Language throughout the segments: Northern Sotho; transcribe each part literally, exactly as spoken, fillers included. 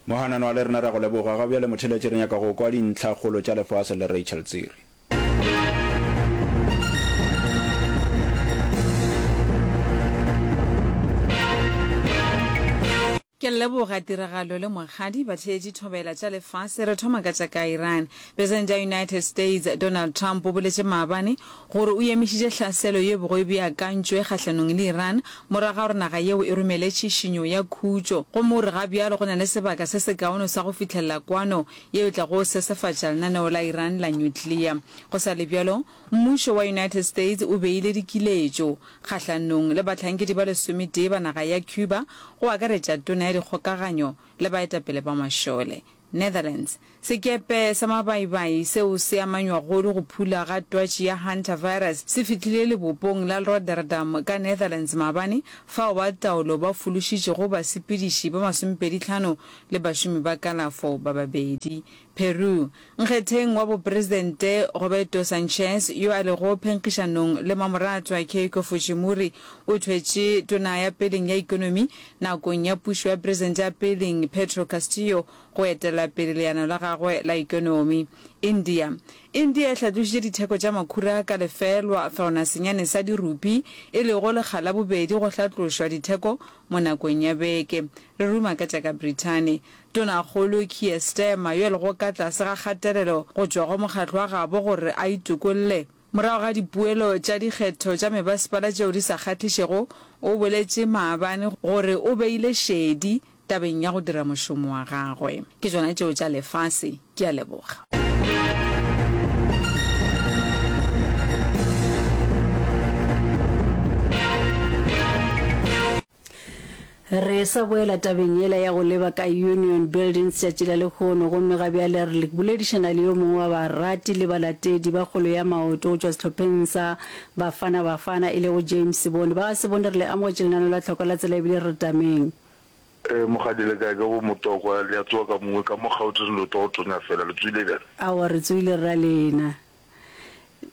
Mohananwa le rena ra go leboga. Ga bjale motheeletši re nyaka go kwa dintlhakgolo tša lefase le Rachel Tsiri. Ke leboga tiragalo le Mokgadi batheetši thobela tša lefase. Re thoma ka tša ka Iran. Presidente ya United States Donald Trump o boletše maabane gore o emišitše hlaselo ye bego e beakantšwe kgahlanong le Iran morago ga gore naga yeo e romele tšhišinyo ya khutšo gomme o re ga bjalo go na le sebaka se sekaone sa go fihlelela kwano yeo e tlago sesefatša lenaneo la Iran la nyuklea. Go sa le bjalo, mmušo wa United States o beile dikiletšo kgahlanong le bahlankedi ba lesometee ba naga ya Cuba, go akaretša tona ya dikgokaganyo le baetapele ba mašole. Netherlands, Sekepe sa mabaibai seo se amanywago le go phula ga twatši ya hantavirus se fihlile lebopong la Rotterdam ka Netherlands maabane, fao ba taolo ba fološitšego basepediši ba masomepedi-hlano le bašomi ba kalafo ba babedi. Peru, Nkgetheng wa bopresidente Roberto Sanchez yo a lego phenkgišanong le mamoratwa Keiko Fujimori o thwetše tona ya peleng ya ekonomi nakong ya pušo ya presidente ya peleng Pedro Castillo go etela pele leano la gagwe la ekonomi. India, India e hlatlošitše ditheko tša makhura ka lefelwa throna senyane sa dirupi, e lego lekga la bobedi go hlatlošwa ditheko mo nakong ya beke. Re ruma ka tša ka Brithani. Tonakgolo Keir Starmer, yo a lego ka tlase ga kgatelelo go tšwa go mokgatlo wa gabo gore a itokolle morago ga dipuelo tša dikgetho tša mebasepala tšeo di sa kgahlišego, o boletše maabane gore o beile šedi tabeng ya go dira mošomo wa gagwe. Ke tšona tšeo tša lefase. Ke a leboga. Re sa boela tabeng yela ya go leba ka Union Buildings tšatši la lehono, gomme ga bjale re boledišana le yo mongwe wa barati le balatedi ba kgolo ya maoto go tšwa sehlopheng sa Bafana Bafana, e lego James Sebone. Ba ga Sebone, re le amogetše lenaneo la Tlhoko la Tsela ebile re re tameng. Ee, mokgadi le kae? Ke bo Motokwa, le a tsoga ka mongwe ka mo Gauteng le tlo go tonya fela, le tsoile bjang? Aowa, re tsoile rra lena.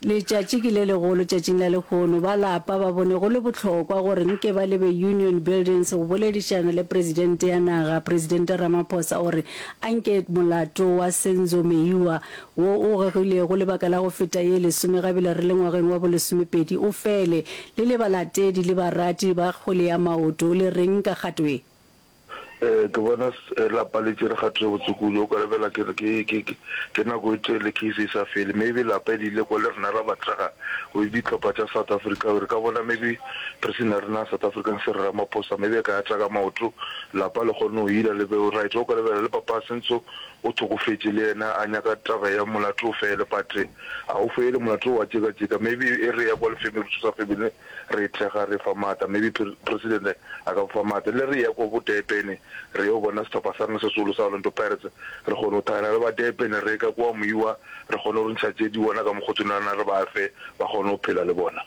Letšatši ke le legolo tšatšing la lehono. Ba lapa ba bone go le bohlokwa gore nke ba lebe Union Buildings go boledišana le Presidente ya naga, Presidente Ramaphosa o re anke molato wa Senzo Meyiwa wo o gegilego lebaka la go feta ye lesome gabele re le ngwageng wa bolesomepedi o fele. Le le balatedi le barati ba kgwele ya maoto le reng ka kgato ye? Ee, ke bona lapa le tšere kgato ye botse kudu. O ka lebela ke re ke, ke, ke, ke nako e telele case e sa fele. Maybe lapa le ile kwa le rena ra ba thekga go dihlopha tša South Africa. Re ka bona maybe president ya rena ya South African Cyril Ramaphosa maybe a ka ya tla ka maoto lapa le kgone go ila le be right. O ka lebela le papa Senzo o hlokofetše le yena a nyaka taba ya molato o fele but a o fele molato o wa tšeka-tšeka. Maybe e re ya kwa le family re thusa family re e thekga re fa maatla maybe president a ka fa maatla le re ya ko bo Durban re yo bona sehlopha sa rena se seholo sa Orlando Pirates re kgone go thakgana le ba Durban re ka kwa Moiwa re kgone go ntšha tše di bona ka mokgotsonana re ba fe ba kgone go phela le bona.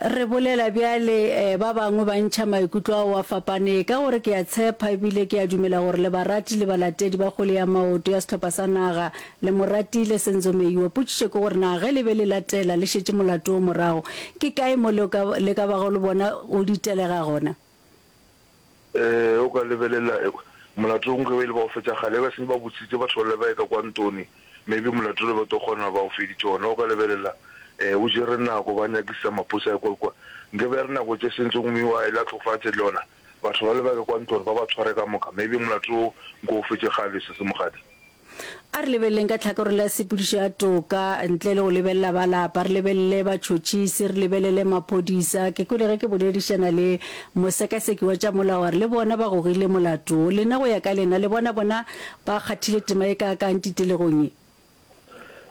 Re bolela bjale, ba bangwe ba ntšha maikutlo ao a fapane ka gore ke a tshepa ebile ke a dumela gore le barati le balatedi ba kgwele ya maoto ya sehlopha sa naga Le mo ratile, Senzo Meyiwa. Potšišo ke gore na ge le be le latela le šetše molato wo morago, ke kae mo le ka, le ka bago le bona o ditelega gona? Ee, o ka lebelela molato wo nkabe e le ba o fetša kgale, ba seng ba botsitse batho bale ba ye ka kwa Ntoni, maybe molato le ba tlo kgona ba o feditše gona. O ka lebelela, ee, o jere nako ba nyakisa maphodisa a ye kwa le kwa. Nkabe ya re nako tše Senzo Meyiwa a ile a hlokofatše le yona, batho bale ba ye ka kwa Ntoni ba ba tshware ka moka, maybe molato wo nko o fetše kgale, Sesi Mokgadi. A re lebeleleng ka tlhakoreng la tshepedišo ya toka, ntle le go lebelela ba lapa, re lebelele batšhotšhisi, re lebelele maphodisa. Ke kwele ge ke boledišana le mosekaseki wa tša molao a re le bona ba gogile molato wo. Lena go ya ka lena, le bona bona ba kgathile tema e kaakang titelegong ye?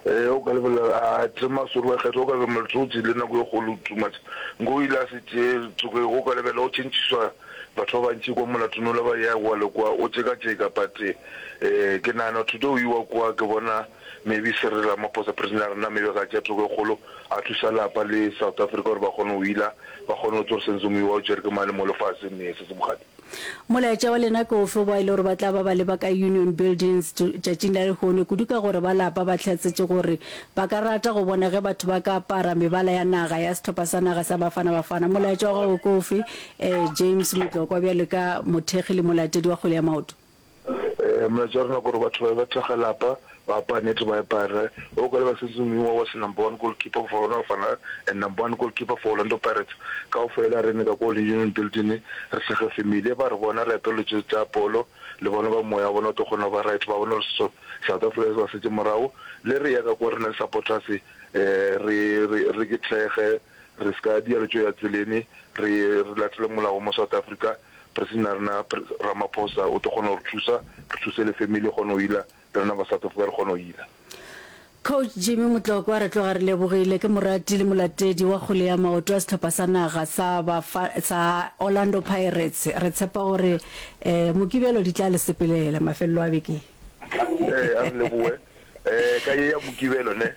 Ee, o ka lebelela, a tema sori wa kgetho, o ka lebelela molato o tšeile nako e kgolo too much. Nko o ile a se tšee toka, o ka lebelela o tšhentšhiswa Batho ba bantši kwa molatong ola ba ya kwa le kwa, o tšekatšeka but eh ke nagana today o iwa kwa ke bona maybe Cyril Ramaphosa president ya rena maybe a ka tšea thoko e kgolo a thusa lapa le South Africa gore ba kgone go ila ba kgone go tseba gore Senzo Meyiwa o tšere ke mang le mo lefaseng nee se se bogadi. Molaetša wa lena ke ofe ba e le gore ba tla ba ba leba ka Union Buildings tšatšing la lehono, kudu ka gore ba lapa ba hlatsetše gore ba ka rata go bona ge batho ba ka apara mebala ya naga ya sehlopha sa naga sa Bafana Bafana. Molaetša wa gago ke ofe, James Motlokwa, bjalo ka mothekgi le molatedi wa kgwele ya maoto? Molaetša wa rena ke gore batho ba be ba thekge lapa, ba apare nete ba apare. O ka leba Senzo Meyiwa was number one goalkeeper for Bafana Bafana and number one goalkeeper for Orlando Pirates. Kaofela re ne ka ko Union Building re thekge family. Ba re bona re apere tše tša polo le bona ba moya wa bona o tlo kgona go ba right ba bone gore South Africa se ba setše morago. Le re ya ka ko re na le supporters re re re ke thekge re ska dia le tšo ya tseleng re re latele molao mo South Africa. President ya rena Ramaphosa o tlo kgona go re thusa, re thuse le family e kgone go ila, le rena ba South Africa re kgone go ila. Coach Jimmy Motlokwa re tloga re lebogile, ke morati le molatedi wa kgwele ya maoto ya sehlopha sa naga sa bafa sa Orlando Pirates. Re tshepa gore eh Mokibelo di tla le sepelela mafelelo a beke. Ee, a re leboge. Eh, ka ye ya Mokibelo ne,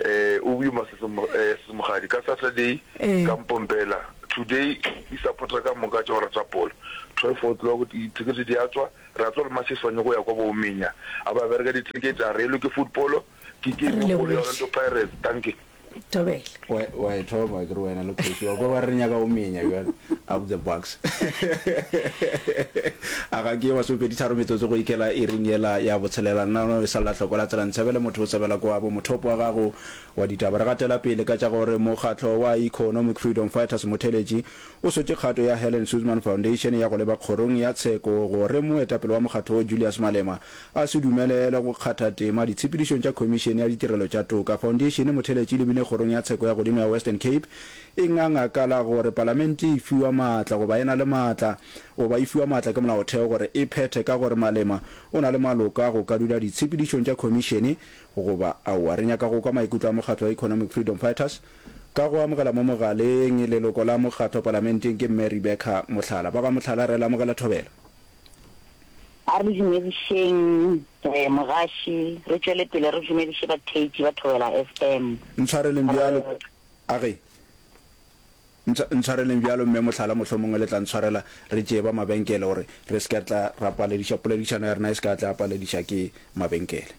eh, o boima Sesemogadi. Ka Saturday, ka mpompela. Today, di supporter ka moka tša go rata polo. Twelve o'clock, dithekete di a tswa. Re a tswa le Matches ba nyako ya kwa bo Menya. A ba bereka dithekete, a re elwe ke football. Ke game e kgolo ya Orlando Pirates. Dankie. Thobela. Wa, wa e thoma ke re wena le kgoši wa kwa ba re nyaka go menya bjale up the bucks. A ga ke masomepedi tharo metsotso go ikela iring yela ya botshelela nna no e salla hloko la tsela ntshebele motho o tsebela kwabo mothopo wa gago wa ditaba. Re gatela pele ka tša gore mokgatlo wa Economic Freedom Fighters Motheletši o sotše kgato ya Helen Suzman Foundation ya go leba kgorong ya tsheko gore moetapele wa mokgatlo wo Julius Malema a se dumelelwe go kgatha tema ditshepedišong tša Khomišene ya Ditirelo tša Toka. Foundation Motheletši e lebile kgorong ya tsheko ya godimo ya Western Cape e nganga ka la gore palamente e fiwa maatla goba e na le maatla goba e fiwa maatla ke molaotheo gore e phethe ka gore Malema o na le maloko a go ka dula ditshepedišong tša khomišene goba aowa. Re nyaka go kwa maikutlo a mokgatlo wa Economic Freedom Fighters ka go amogela mo mogaleng leloko la mokgatlo palamenteng ke Mme Rebecca Mohlala. Ba ga Mohlala re le amogela thobela. A re dumedišeng mogaši, re tšwele pele re dumediše batheetši ba Thobela F M. Ntshwareleng bjalo, a ge. Ntshwareleng bjalo, Mme Mohlala, mohlomongwe le tla ntshwarela, re tšee ba mabenkele gore re se ke tla ra palediša poledišano ya rena e se ka tla ya palediša ke mabenkele.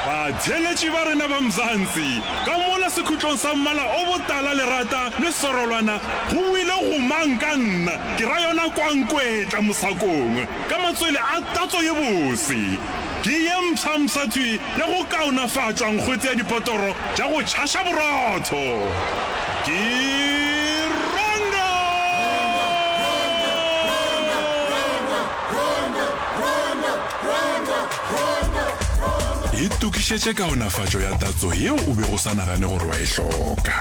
Batheeletši ba rena ba Mzansi, ka mola sekhutlong sa mmala o botala lerata le serolwana go boile gomang ka nna, ke ra yona kwankwetla mosakong, ka matswele a tatso ye bose. Ke ye mpshampsha thwi ya go kaonafatšwa nkgwete ya dipotoro tša go tšhaša borotho. Ke Rondo! Itokišetše kaonafatšo ya tatso yeo o bego o sa nagane gore wa e hloka.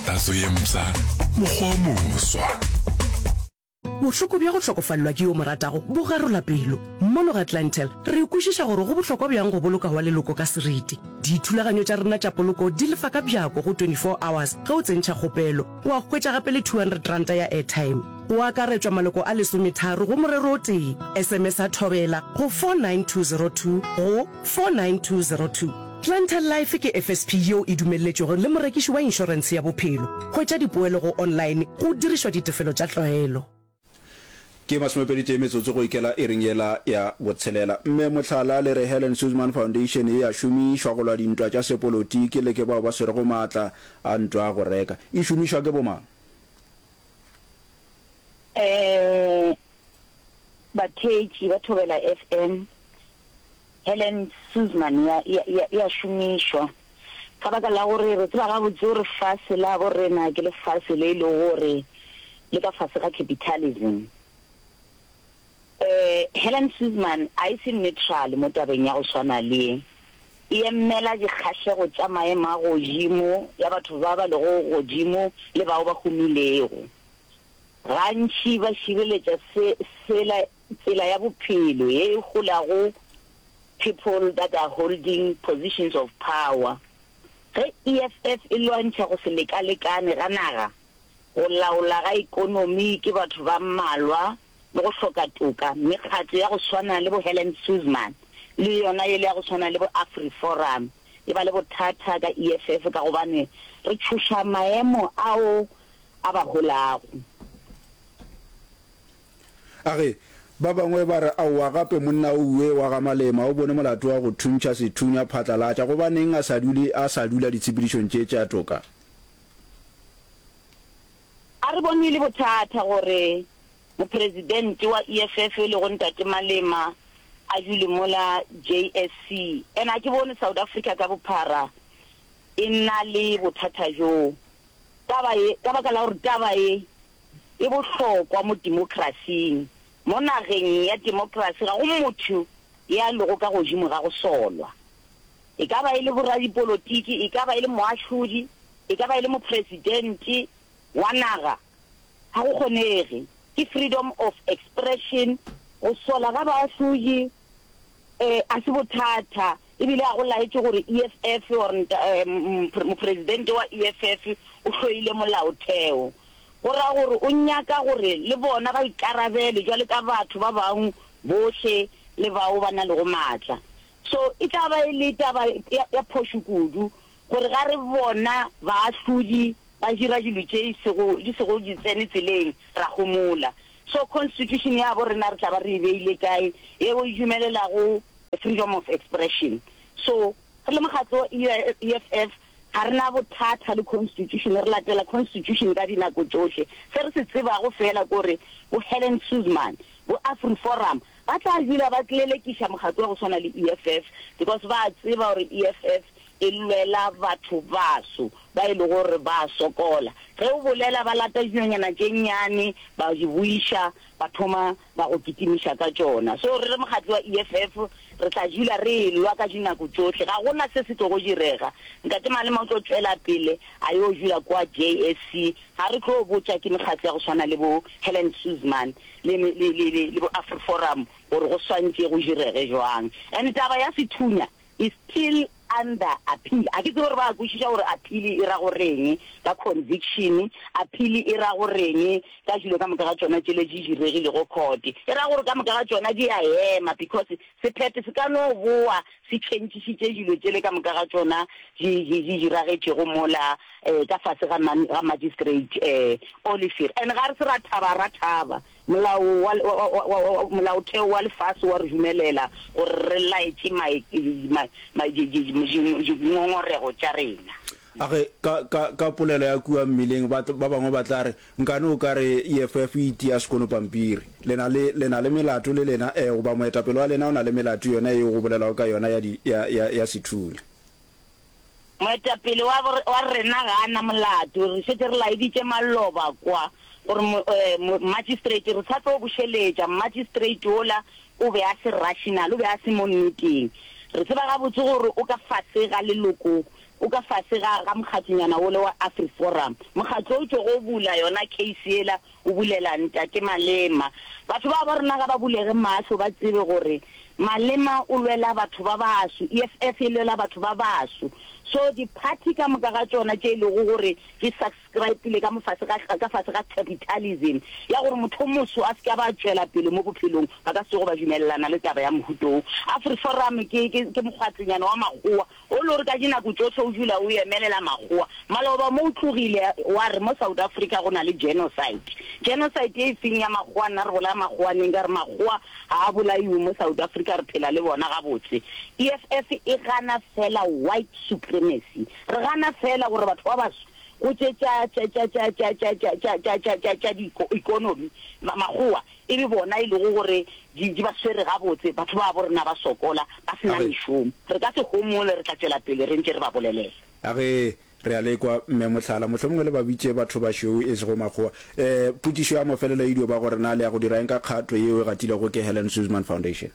Tatso ye mpsha, mokgwa o moswa. Bohloko bja go hlokofalelwa ke yo o mo ratago bo garola pelo. Mono ga Clientele, re kwešiša gore go bohlokwa bjang go boloka wa leloko ka seriti. Dithulaganyo tša rena tša poloko di lefa ka bjako go twenty four hours ge o tsentšha kgopelo. Wa hwetša gape le two hundred ranta ya airtime. Go akaretšwa maloko a lesometharo go morero o tee. S M S a Thobela go four nine two zero two go four nine two zero two. Clientele Life ke F S P yeo e dumelletšwego le morekiši wa inšorentshe ya bophelo. Hwetša dipoelo go online go dirišwa ditefelo tša tlwaelo. Ke masomepedi tee metsotso go ikela iring yela ya botshelela. Mme mohlala le re Helen Suzman Foundation e a šomišwa go lwa dintwa tša sepolotiki le ke bao ba swerego maatla a ntwa a go reka. E šomišwa ke bomang? Eh, batheetši ba Thobela F M, Helen Suzman ya, ya, ya, ya šomišwa ka baka la gore re tseba gabotse gore fase la bo rena ke lefase le e lego gore le ka fase ga capitalism. Eh, Helen Suzman a e se neutral mo tabeng ya go swana le ye. E emela dikgahlego tša maemo a godimo ya batho ba ba lego godimo le bao ba humilego. Gantši ba šireletša se, sela, tsela ya bophelo ye e holago people that are holding positions of power. Ge E F F e lwantšha go se lekalekane ga naga, go laola ga ekonomi ke batho ba mmalwa le go hloka toka, mekgatlo ya go swana le bo Helen Suzman le yona yele ya go swana le bo AfriForum e ba le bothata ka E F F ka gobane re tšhoša maemo ao a ba holago. A re, Ba bangwe ba re, Aowa, gape monna ouwe wa ga Malema o bone molato wa go thuntšha sethunya phatlalatša. Gobaneng a sa dule a sa dula ditshepedišong tše tša toka? A re bone e le bothata gore Mopresidente wa E F F e lego Ntate Malema a dule mola J S C. And a ke bone South Africa ka bophara e na le bothata bjoo. Taba ye, ka baka la gore taba ye e bohlokwa mo demokrasing. Mo nageng ya demokrasi ga go motho ya lego ka godimo ga go solwa. E ka ba e le boradipolotiki, e ka ba e le moahlodi, e ka ba e le mopresidente wa naga, ga go kgonege. Ke freedom of expression. Go sola ga baahlodi a se bothata, e bile ga go laetše gore E F F or mopresidente wa E F F o hloile molaotheo. Go ra gore o nyaka gore le bona ba ikarabele jwale ka batho ba bangwe bohle le bao ba na lego maatla. So e tla ba e le taba ya phošo kudu gore ga re bona baahlodi ba dira dilo tše sego di sego di tsene tseleng ra homola. So constitution ya bo rena re tla ba re e beile kae yeo e dumelelago freedom of expression? So re le mokgatlo wa E F F ga re na bothata le constitution, re latela constitution ka dinako tšohle. Se re se tsebago feela ke gore bo Helen Suzman, bo AfriForum ba tla dula ba tlelekiša mokgatlo wa go swana le E F F because ba tseba gore E F F e lwela batho baso ba e lego gore ba sokola. Ge o bolela ba lata dinonyana tše nnyane ba di buiša, ba thoma ba go kitimiša ka tšona. So re le mokgatlo wa E F F re tla dula re elwa ka dinako tšohle. Ga gona se se tlogo direga. Ntate Malema o tlo tšwela pele a yo dula kwa J S C. Ga re tlo botša ke mekgatlo ya go swana le bo Helen Suzman le le le le bo AfriForum gore go swantše go direge jwang. And taba ya sethunya is still under appeal. A ke tsebe gore ba kwešiša gore appeal e ra goreng ka conviction, appeal e ra goreng ka dilo ka moka ga tšona tšele di diregilego court. E ra gore ka moka ga tšona di a ema because sephetho se ka no boa se tšhentšišitše dilo tšele ka moka ga tšona di di di diragetšego mola um ka fase ga ga magistrate um Olivier. And ga re se ra thaba, ra thaba. Molao wa molaotheo wa lefase wa re dumelela gore re laetše dingongorego tša rena. A ge, ka, ka, ka polelo ya kua mmileng, ba, ba bangwe ba tla re, Nkane o ka re E F F e itia sekono pampiri. Le na le, le na le melato le lena, ee, goba moetapele wa lena o na le melato yona yeo go bolelwago ka yona ya di, ya, ya, ya sethunya. Moetapele wa, wa rena ga a na molato. Re šetše re laeditše maloba kwa gore mo, eh, magistrate re sa tlo bušeletša. Magistrate wola o be a se rational, o be a se mo nneteng. Re tseba gabotse gore o ka fase ga leloko, o ka fase ga, ga mokgatlonyana wole wa AfriForum. Mokgatlo o tšogo o bula yona case yela, o bulela Ntate Malema. Batho ba ba rena ga ba bulege mahlo ba tsebe gore Malema o lwela batho ba baso, E F F e lwela batho ba baso. So di-party ka moka ga tšona tše e lego gore di subscribe-ile ka mo fase ga, ka fase ga capitalism ya gore motho o moso a se ke a ba tšwela pele mo bophelong, ba ka se tsoge ba dumelelana le taba ya mohuta wo. AfriForum ke, ke, ke mokgatlonyana wa makgowa o le gore ka dinako tšohle o dula o emelela makgowa. Maloba mo o tlogile wa re mo South Africa go na le genocide. Genocide e feng ya makgowa? Nna re bolaya makgowa neng? Ka re makgowa ga a bolaiwe mo South Africa, re phela le bona gabotse. E F F e gana fela white supremacy. Re gana fela gore batho ba baso go tše tša tša tša tša tša tša tša tša tša tša tša tša di-economy makgowa e be bona e lego gore di di ba swere gabotse, batho ba bo rena ba sokola ba se na A ge. mešomo. Re ka se homole, re tla tšwela pele re ntše re ba bolelela. A ge re a lekwa, Mme Mohlala, mohlomongwe le ba bitše batho bašweu e sego makgowa. E, potšišo ya mafelelo e dio ba gore na le ya go dira eng ka kgato yeo e gatilego ke Helen Suzman Foundation?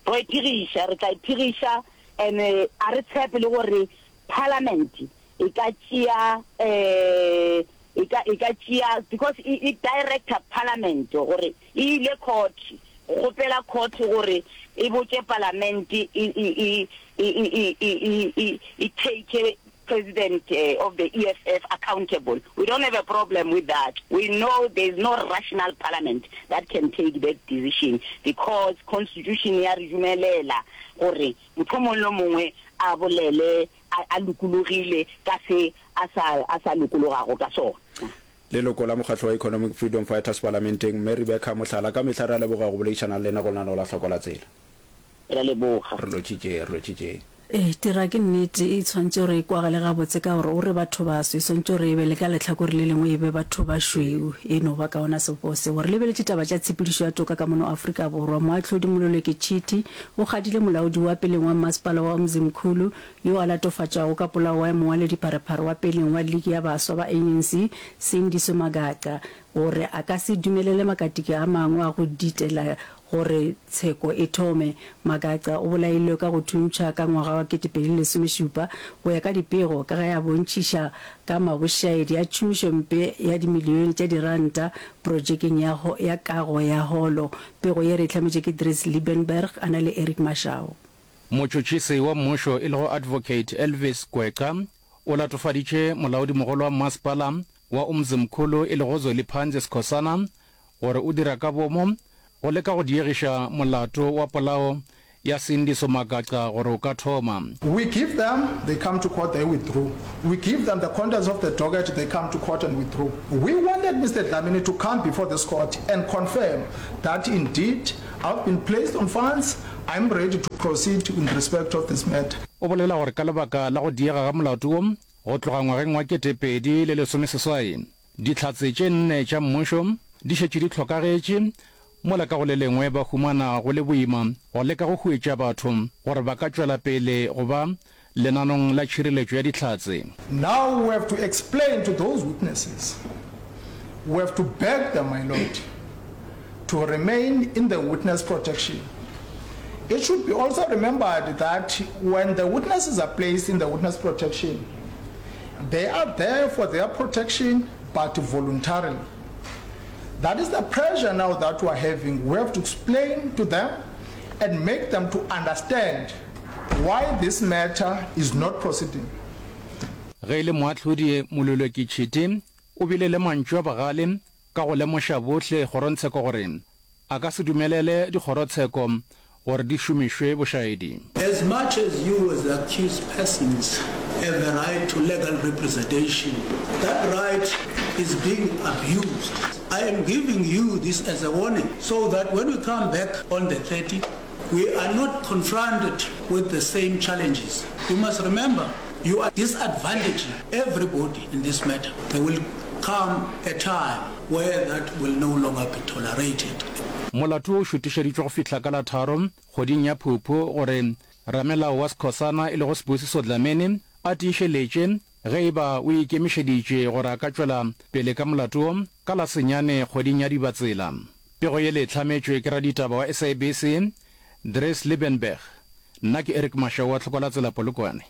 Ro e phegiša, re tla e phegiša and a re tshepe le gore parliament e ka tšea um e ka e ka tšea because e e director parliament gore e ile court go kgopela court gore e botše parliament e e e e e e e e e take president of the E F F accountable. We don't have a problem with that. We know there is no rational parliament that can take that decision because constitution ya re dumelela gore motho o mongwe le mongwe a bolele a a lokologile ka se a sa a sa lokologago ka sona. Leloko la mokgatlo wa Economic Freedom Fighters Palamenteng, Mme Rebecca Mohlala, ka mehla re a leboga go boledišana le lena go lenaneo la Hloko la Tsela. Re a leboga. Re lotšitše, re lotšitše. Ee, tira ke nnete e tshwanetše gore e kwagale gabotse ka gore o re batho baso e swantše gore e be le ka lehlakore le lengwe e be batho bašweu. E no ba ka ona sebopego seo. Re lebeletše taba tša tshepedišo ya toka ka mono Afrika Borwa. Moahlodi Mololeke Chiti o kgadile molaodi wa peleng wa mmasepala wa Umzimkhulu yo a latofatšwago ka polao wa mongwaledipharephare wa peleng wa liki ya baswa ba A N C Sindiso Magaqa gore a ka se dumelele makatiki a mangwe a go ditela gore tsheko e thome. Magaqa o bolailwe ka go thuntšha ka ngwaga wa kete pedi le lesomešupa go ya ka dipego ka ge a bontšhiša ka mabošaedi a tšhomišompe ya dimilione tša diranta projekeng ya ya kago ya holo. Pego ye re e hlametše ke Dries Liebenberg a na le Eric Mashau. Motšhotšhisi wa mmušo e lego Advocate Elvis Gwexa o latofaditše molaodimogolo wa mmasepala wa Umzimkhulu e lego Zweliphanzi Skhosana gore o dira ka boomo go leka go diegiša molato wa polao ya Sindiso Magaqa gore o ka thoma. We give them, they come to court, they withdrew. We give them the contents of the docket, they come to court and withdrew. We wanted Mister Dlamini to come before this court and confirm that indeed I've been placed on funds, I'm ready to proceed in respect of this matter. O bolela gore ka lebaka la go diega ga molato wo go tloga ngwageng wa kete pedi le lesomeseswai, dihlatse tše nne tša mmušo di šetše di hlokagetše, mola ka go le lengwe ba humana go le boima go leka go huetša batho gore ba ka tšwela pele go ba lenanong la tšhireletšo ya dihlatse. Now we have to explain to those witnesses, we have to beg them, my lord, to remain in the witness protection. It should be also remembered that when the witnesses are placed in the witness protection, they are there for their protection, but voluntarily. That is the pressure now that we are having. We have to explain to them and make them to understand why this matter is not proceeding. Ge e le moahlodi Mololoki Chiti o bile le mantšu a bogale ka go lemoša bohle kgorongtsheko gore a ka se dumelele dikgorotsheko gore di šomišwe bošaedi. As much as you as the accused persons have a right to legal representation, that right is being abused. I am giving you this as a warning so that when we come back on the thirty, we are not confronted with the same challenges. You must remember, you are disadvantaging everybody in this matter. There will come a time where that will no longer be tolerated. Molato wo o šutišeditšwe go fihla ka la tharo kgweding ya Phuphu gore ramelao wa Skhosana e lego Sibusiso Dlamini a tiišeletše ge e ba o ikemišeditše gore a ka tšwela pele ka molato wo ka la senyane kgweding ya Dibatsela. Pego yele e hlametšwe ke raditaba wa S A B C Dries Liebenberg. Nna ke Eric Mashau wa Tlhokolatsela Polokwane.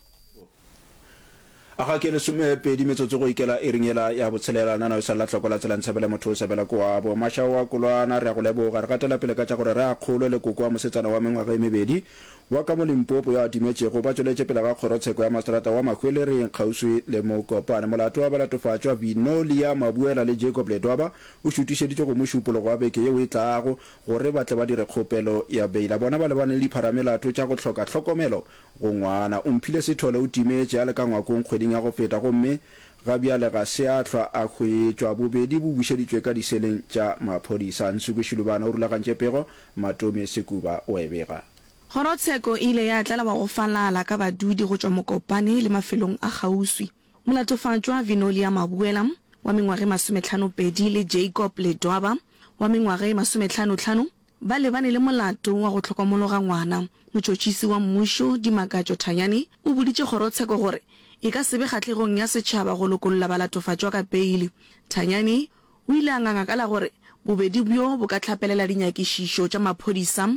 A ga ke lesomepedi metsotso go ikela iring yela ya botshelela, nana o sa lla hloko la tsela ntshebele motho o sebela koabo. Mashao wa Kolwana, re a go leboga. Re gatela pele ka tša gore re a kgolwe le koko wa mosetsana wa mengwaga e mebedi wa ka mo Limpopo yo a timetšego ba tšweletše pele ga kgorotsheko ya maseterata wa Mahwelereng kgauswi le Mokopane. Molato wa balatofatšwa Vinolia Mabuela le Jacob Ledwaba o šutišeditšwe go Mošupologo wa beke yeo e tlago gore ba tle ba dire kgopelo ya beila. Bona ba lebane le dipharamelato tša go hloka hlokomelo go ngwana. Omphile Sithole o timetše a le ka ngwakong kgweding ya go feta gomme ga bjale ga se a hlwa a hwetšwa. Bobedi bo bušeditšwe ka diseleng tša maphodisa. Nsuku Shilubana o rulagantše pego, Matome Sekuba o e bega. Kgorotsheko e ile ya tlala wa go falala ka badudi go tšwa Mokopane le mafelong a kgauswi. Molatofatšwa Vinolia Mabuela wa mengwaga e masometlhano-pedi le Jacob Ledwaba wa mengwaga e masometlhano-tlhano ba lebane le molato wa go hlokomologa ngwana. Motšhotšhisi wa mmušo Dimakatšo Thanyane o boditše kgorotsheko gore e ka se be kgahlegong ya setšhaba go lokolla balatofatšwa ka peile. Thanyane o ile a nganga ka la gore bobedi bjo bo ka hlapelela dinyakišišo tša maphodisa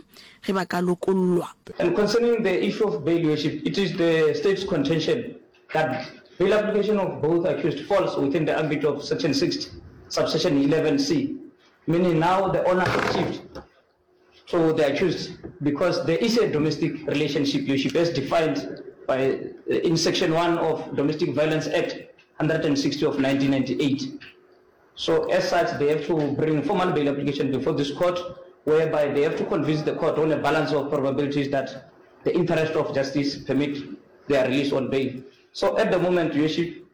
ge ba ka lokollwa. And concerning the issue of bail, Your Worship, it is the State's contention that bail application of both accused falls within the ambit of section sixty, subsection eleven C, meaning now the onus shift to the accused because there is a domestic relationship, Your Worship, as defined by, in section one of Domestic Violence Act one hundred sixty of nineteen ninety-eight. So as such, they have to bring formal bail application before this court, whereby they have to convince the court on a balance of probabilities that the interest of justice permit their release on bail. So at the moment, Your Worship,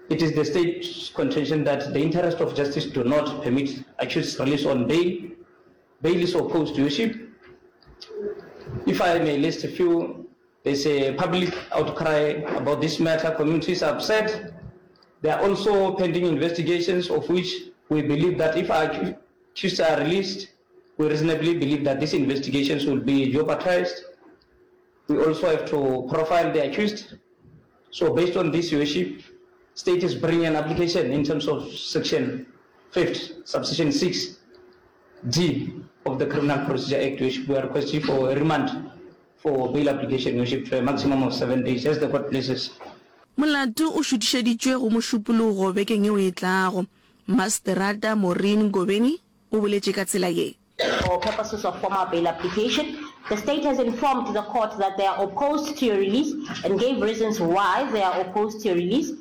it is the state's contention that the interest of justice do not permit accused release on bail. Bail is opposed, Your Worship. If I may list a few There's a public outcry about this matter. Communities are upset. There are also pending investigations of which we believe that if our accused are released, we reasonably believe that these investigations will be jeopardized. We also have to profile the accused. So based on this, Your Worship, state is bringing an application in terms of section fifth, subsection six D of the Criminal Procedure Act, which we are requesting for a remand for bail application, Your Worship, to a maximum of seven days, as the court pleases. Molato o šutišeditšwe go Mošupologo bekeng yeo e tlago. Maseterata Maureen Ngobeni o boletše ka tsela ye. For purposes of formal bail application, the state has informed the court that they are opposed to your release and gave reasons why they are opposed to your release.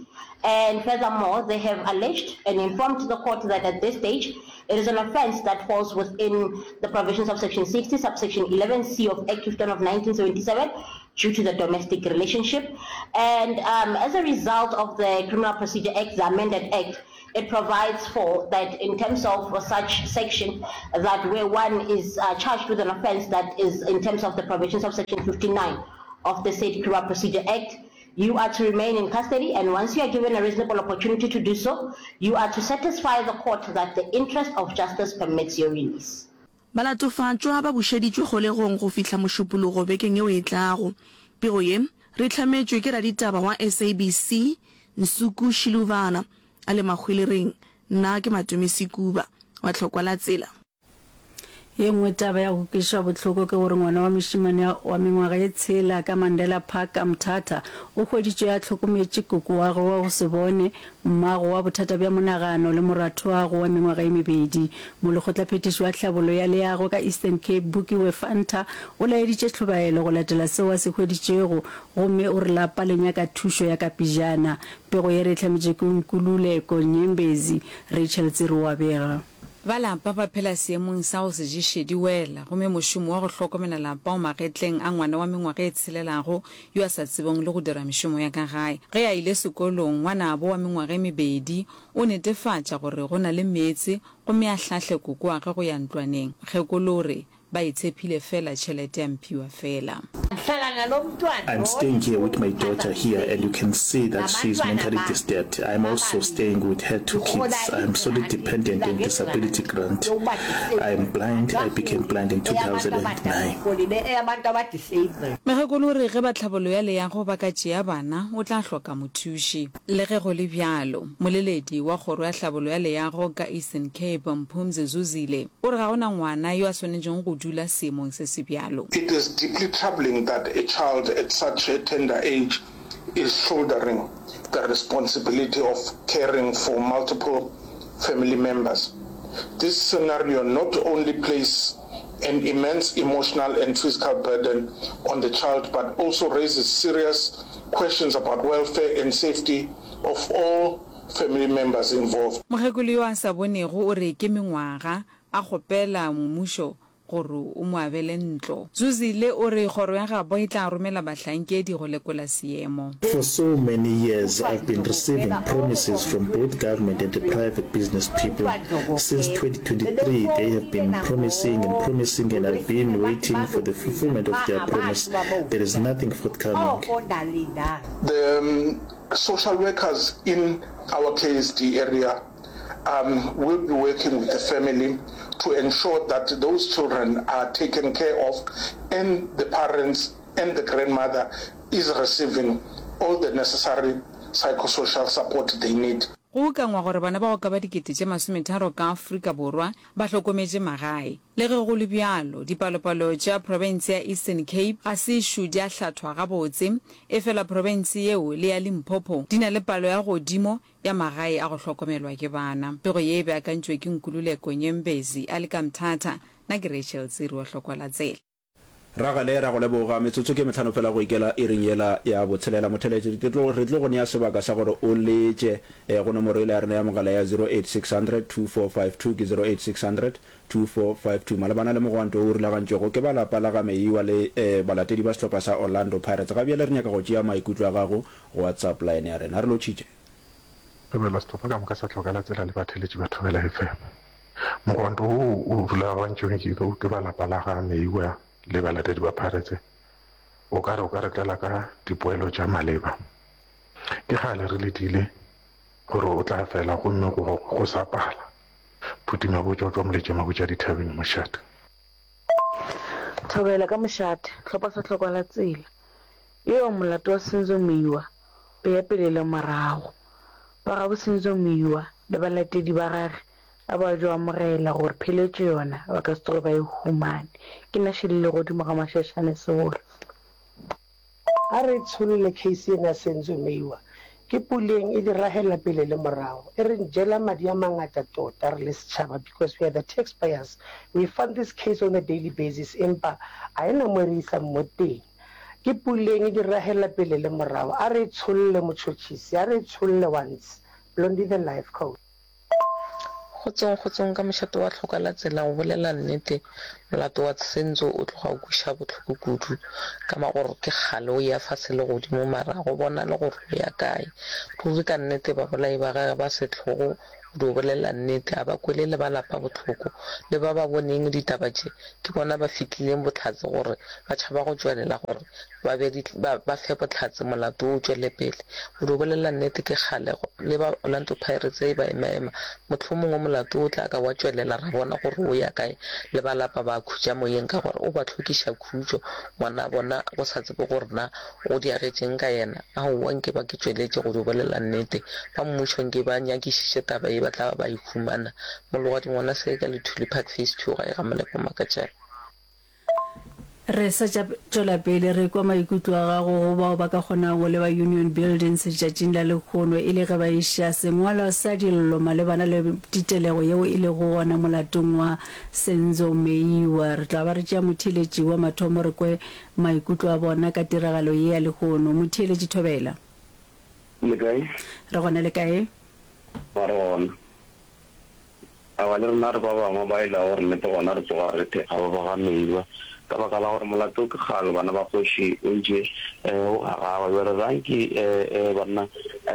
And furthermore, they have alleged and informed the court that at this stage, it is an offence that falls within the provisions of section sixty, subsection eleven C of Act fifty-one of nineteen seventy-seven due to the domestic relationship. And, um, as a result of the Criminal Procedure Act, the amended Act, it provides for that in terms of such section, that where one is, uh, charged with an offence that is in terms of the provisions of section fifty-nine of the said Criminal Procedure Act, you are to remain in custody, and once you are given a reasonable opportunity to do so, you are to satisfy the court that the interest of justice permits your release. Balatofatšwa ba bušeditšwe kgolegong go fihla Mošupologo bekeng yeo e tlago. Pego ye re hlametšwe ke raditaba wa S A B C, Nsuku Shiluvana, a le Mahwelereng. Nna ke Matome Sekuba, wa Tlhokwa la Tsela. Ye nngwe taba ya go kweša bohloko ke gore ngwana wa mošemane wa mengwaga ye tshela ka Mandela Park ka Mthatha o hweditšwe a hlokometše koko wa gagwe wa go se bone, mmago wa bothata bja monagano le moratho'agwe wa mengwaga ye mebedi. Molekgotlaphethiši wa tlhabollo ya leago ka Eastern Cape Bukiwe Fanta o laeditše tlhobaelo go latela seo a se hweditšego gomme o re lapa le nyaka thušo ya ka pejana. Pego ye re e hlametše ke Nkululeko Nyembezi, Rachel Tsiri o a bega. Ba lapa ba phela seemong sa go se ješe di wela, gomme mošomo wa go hlokomela lapa o magetleng a ngwana wa mengwaga e tshelelago yo a sa tsebeng le go dira mešomo ya ka gae. Ge a ile sekolong, ngwanabo wa mengwaga e mebedi o netefatša gore go na le meetse gomme a hlahle kokoage go ya ntlwaneng. Mokgekolo o re, Ba e tshephile fela tšhelete ya mphiwa fela. I'm staying here with my daughter here and you can see that she is mentally disturbed. I am also staying with her two kids. I am solely dependent on disability grant. I am blind, I became blind in two thousand and nine. Mokgekolo o re ge ba tlhabollo ya leago ba ka tšea bana, o tla hloka mothuši. Le ge go le bjalo, moleledi wa kgoro ya hlabollo ya leago ka Eastern Cape, Mphumzi Zuzile, o re ga go na ngwana yo a swanetšego go dula seemong se se bjalo. It is deeply troubling that a child at such a tender age is shouldering the responsibility of caring for multiple family members. This scenario not only places an immense emotional and physical burden on the child but also raises serious questions about welfare and safety of all family members involved. Mokgekolo yo a sa bonego o re ke mengwaga a kgopela mmušo gore o mo abele ntlo. Zuzile o re kgoro ya gabo e tla romela bahlankedi go lekola seemo. For so many years I've been receiving promises from both government and the private business people. Since twenty twenty-three they have been promising and promising and I've been waiting for the fulfillment of their promise. There is nothing forthcoming. The social workers in our K S D area um, will be working with the family to ensure that those children are taken care of and the parents and the grandmother is receiving all the necessary psychosocial support they need. Go ukangwa gore bana ba go ka ba dikete tše masometharo ka Afrika Borwa ba hlokometše magae. Le ge go le bjalo, dipalopalo tša profense ya Eastern Cape ga se ešo di a hlathwa gabotse, efela profense yeo le ya Limpopo di na le palo ya godimo ya magae a go hlokomelwa ke bana. Pego ye e beakantšwe ke Nkululeko Nyembezi a le ka Mthatha. Nna ke Rachel Tsiri wa Hlokwa la Tsela. Ragale, ra go leboga. Metsotso ke mehlano fela go ikela iring yela ya botshelela. Motheeletši, ke tlo, re tlo go nea sebaka sa gore o letše eh, go nomoro yela ya rena ya mogala ya zero eight six hundred two four five two, ke zero eight six hundred two four five two, malebana le mogwanto wo o rulagantšwego ke ba lapa la ga Meyiwa le eh, balatedi ba sehlopha sa Orlando Pirates. Ga bjale re nyaka go tšea maikutlo a gago go WhatsApp line ya rena. Re lotšhitše. Thobela sehlopha ka moka sa Tlhoka la Tsela le batheeletši ba Thobela F M. Mogwanto wo o rulagantšweng ke, ke ba lapa la ga Meyiwa le balatedi ba Pirates O ka re o ka re tlela ka dipoelo tša maleba. Ke kgale re letile gore o tla fela gomme go, go sa pala. Phuti Mabotja o tšwa Moletša Mabotja Dithabeng, Mošate. Thobela ka mošate, hlopha sa hlokwa la tsela. Eo molato wa Senzo Meyiwa o ya pele le morago. Ba gabo Senzo Meyiwa le balatedi ba gage ba ba jo amogela gore pheletšo yona ba ka se tsoge ba e humane. Ke na šelele godimo ga mašašane segolo. A re tsholle case ena ya Senzo Meyiwa. Ke Puleng e di rahela pele le morago. E re jela madi a mangata tota re le setšhaba because we are the taxpayers. We fund this case on a daily basis empa a e na mo e re isang mo teng. Ke Puleng e di rahela pele le morago. A re e tsholle motšhotšhisi, a re e tsholle once. Blondie the life coach. Kgotsong kgotsong ka mošate wa tlhoka la tsela go bolela nnete molato wa Senzo o tloga o kweša bohloko kudu ka ma gore ke kgale o ya fase le godimo mara go bonale gore o ya kae ruri ka nnete babolai ba gage ba sehlogo go dio bolela nnete a ba kwele le ba lapa bohloko le ba ba boneng ditaba tše ke bona ba fihlileng bohlatse gore ba tšhaba go tšwelela gore ba be ba, ba fe bohlatse molato wo o tšwele pele. Go dio bolela nnete ke kgale le ba Orlando Pirates e ba emaema. Mohlomongwe molato wo o tla ka wa tšwelela ra bona gore o ya kae. Le ba lapa ba khutša moyeng ka gore o ba hlokiša khutšo ngwana bona go sa tsebe gore na go diagetšeng ka yena. Aowa nke ba ke tšweletše go dio bolela nnete. Ba mmušo nke ba nyakišiše taba ye ba tla ba ba e humana. Mologadi ngwana se ka Lethuli Park Phase Two gae ga Molepo Makatšane. Re sa tša tšwela pele re kwa maikutlo a gago go bao ba ka kgonago go leba Union Buildings letšatšing la lehono e le ge ba iša sengwalwa sa dillo malebana le titelego yeo e lego gona molatong wa Senzo Meyiwa. Re tla ba re tšea motheeletši wa mathomo re kwe maikutlo a bona ka tiragalo ye ya lehono. Motheeletši Thobela. Le kae? Re gona le kae? Ba re gona. Aowa, le rena re ba bangwe ba e lego gore nnete gona re tsoga re thekga ba ba ga Meyiwa ka baka la gore molato ke kgale bana ba kgoši o ntše o gagawa. Bjale ranki banna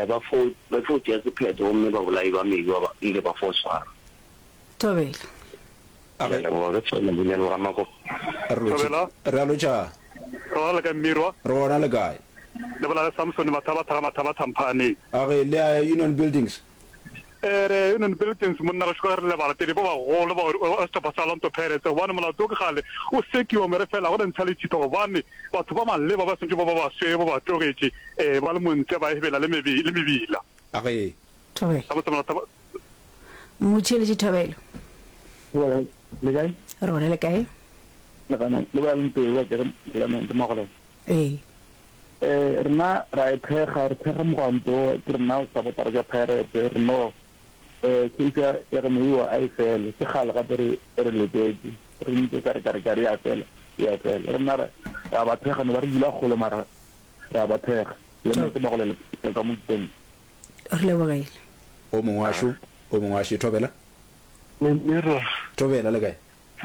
ba fo ba fo tšea sephetho gomme babolai ba Meyiwa ba ile ba fo swarwa. Thobela. Ke a leboga ke Tshwane Bunyane ga Makopo. Thobela. Re a lotšha. Re gona le kae Mmirwa? Re gona le kae? Le bolela le Samson Mathabatha ga Mathabatha Mphaaneng. A re le ya Union Buildings? Ee, re ya Union Buildings monna gešo ka ge re le balatedi ba bagolo ba sehlopha sa Orlando Pirates gobane molato wo ke kgale o sekiwa me re fela go le ntsha lethitho gobane batho ba maleba ba swanetše ba ba basweu ba ba tlogetše ee ba le montle ba ebela le mebila. A re. Thobela. Gabotse molato ba. Motšheletši Thobela. Thobela, le kae? Re gona le kae? Le gona, le bolela le Mpeu wa kere Clement Magolego. Ee. Eh, rena ra e thekga, re thekga mogwanto, ke rena supportara tša Pirates, re no eh case ya ya go Meyiwa a e fele, ke kgale gape re re letetše, re ntse ka re ka re ka re ya fela, ya fela. Rena re ra ba thekga, no ba re dula kgole mara ra ba thekga. Clement Magolego ka mo Mopeng. Re lebogile. O mongwe wa šo, o mongwe wa še. Thobela. Mmirwa. Thobela, le kae?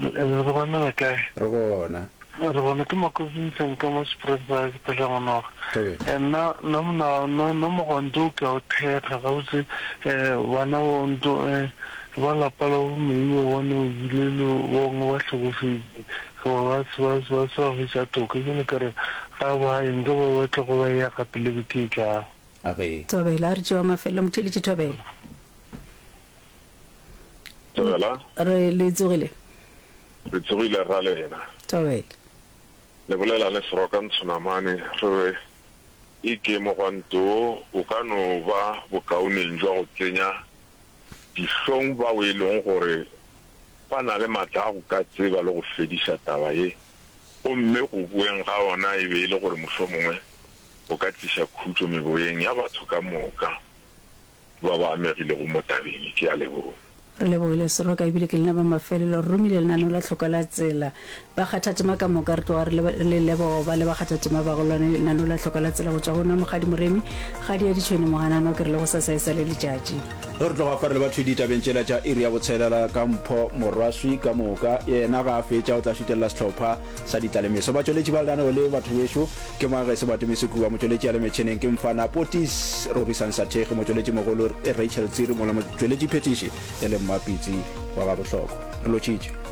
Re gona le kae? Re gona. Re gona ke Makosi Ntsheng ka mo Springvale ke phela Ngwanoga. Thobela. Nna nna mona nna nna mogwanto o ke a o thekga gabotse eh bana bo nto eh ba lapa la bo Meiwa bone o bile le bongwe ba hlokofetše goba ba se ba se ba se ba hwetša toka bjale ka re ga ba ye nka ba ba tlogo ba ya gape le beke e tlago. A re. Thobela, a re tšewa mafelelo motheeletši Thobela. Thobela. Re le tsogile. Re tsogile ra lena. Thobela. Le bolela le Seroka Ntshonamane re re e ke mogwanto wo o ka no ba bokaoneng jwa go tsenya dihlong bao e leng gore ba na le matla a go ka tseba le go fediša taba ye gomme go boeng ga ona e be e le gore mohlomongwe go ka tliša khutšo meboyeng ya batho ka moka ba ba amegilego mo tabeng ye. Ke a leboga. Re lebogile Seroka ebile ke lena ba mafelelo. Re romile lenaneo la Tlhoko la Tsela. Bakgathatema ka moka re tloga re le leboga go ba le bakgathatema ba go lona lenaneo la Tlhoko la Tsela go tšwa go nna Mokgadi Moremi, Kgadi ya Ditšhwene Moganano ke re le gosasa e sa le letšatši. Ge re tloga fa re leba thwi ditabeng tšela tša iri ya botshelela ka Mpho Morwaswi ka moka, yena ga a fetša o tla šutelela sehlopha sa ditlalemeso. Batšweletši ba lenaneo le batho bešo ke Magese Batumisi Kuba, motšweletši a le metšheneng ke Mfana Potis Rorisang Sathekge, motšweletši mogolo Rachel Tsiri mola motšweletši phethiši e le Mmapitsi wa Gabohlokwa. Re lotšhitše.